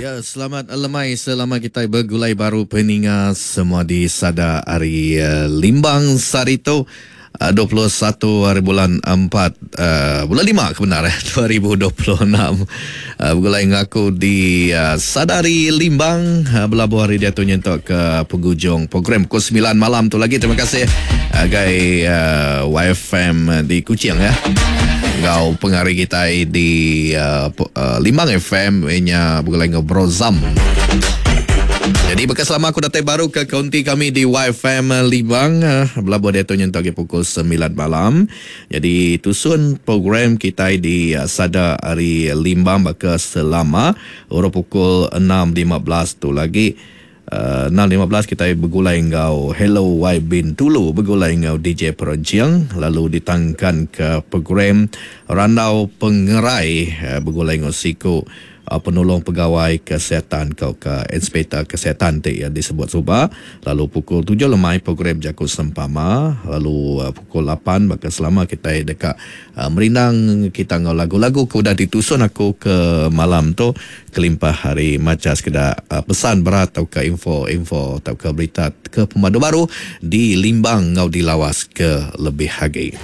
Ya, selamat lemai selama kitai begulai baru peninga semua di sada ari eh, Limbang sehari tu 21 hari bulan 4 uh, bulan 5 ke benar eh 2026 uh, begulai ngaku di uh, Sadari Limbang uh, belabuh hari diatu nyentuk ke penghujung program pukul 9 malam tu lagi. Terima kasih agai uh, YFM di Kuching ya. Enggau pengari kitai di uh, uh, Limbang FM inya begulai enggau Bro Zam. Jadi baka selama aku datai baru ke kaunti kami di YFM Limbang uh, belabuh diatu nyentuk agi pukul 9 malam. Jadi tusun program kitai di uh, Sada ari Limbang baka selama urung pukul 6.15 tu lagi. 6.15 kitai begulai enggau Hello Y Bintulu begulai enggau DJ Perenching lalu ditangkan ke program Randau Pengerai begulai enggau siku Penulung Pegawai Kesihatan tauka Inspektor Kesihatan ti disebut suba lalu pukul tujuh lemai program Jaku Sempama lalu pukul lapan baka selama kitai deka merindang kita enggau lagu-lagu ke udah ditusun aku ke malam tu. Kelimpah ari macha sekeda pesan berat tauka info-info tauka berita ke pemadu baru di Limbang enggau di Lawas ke lebih agi.